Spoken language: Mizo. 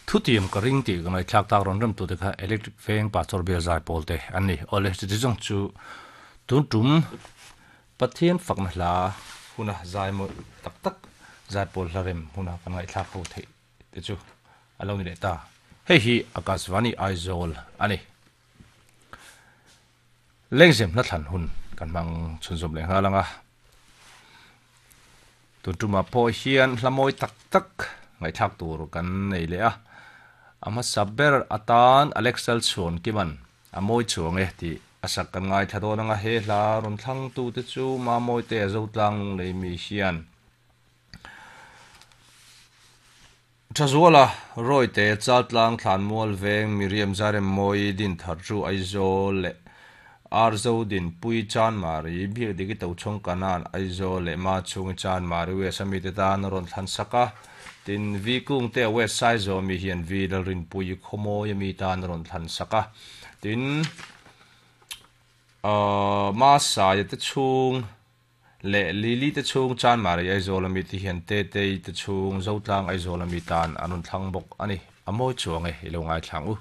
Thutiam ka ring tih ka ngaihthlak tak rawn remtute kha Electric Veng Pastor Bial Zaipawl te an ni. Awle, chuti zawng chu tun tum Pathian fakna hla huna zai mawi tak tak Zaipawl hla rem huna kan ngaihthlak ho theih te chu a lo ni leh ta. Hei hi Akashvani Aizawl a ni. Lengzem hla thlan hun kan hmang chhunzawm leh nghal ang a. Tun tumah pawh hian hla mawi tak tak ngaihthlak tur kan nei leh a. A hmasa ber atan Alex Lalchhuankiman a mawi chuang e tih a sak kan ngaithla dawn ang a. He hla rawn thlangtute chu Mamawite a Zotlang Lunglei mi hian Thazuala, Rawite, Chaltlang, Thlanmual Veng, Miriam Zaremmawi, Dinthar Chu, Aizawl leh Arzo Dinpui, Chanmari, Biakdiki Tochhawng Kanan, Aizawl leh Machhungi Chanmari West a mite tan a rawn thlan sak a. Tin, Vi Kungte a West Saizaw mi hian Vi Lalrinpui Khawmawi a mi tan a rawn thlan sak a. Tin, Masaia te chhung. Leh Lily te chhung Chanmari Aizawl ami te hian Tetei te chhung Zotlang Aizawl ami tan an rawn thlang bawk a ni. A mawi chuang e, i lo ngaithla ang u.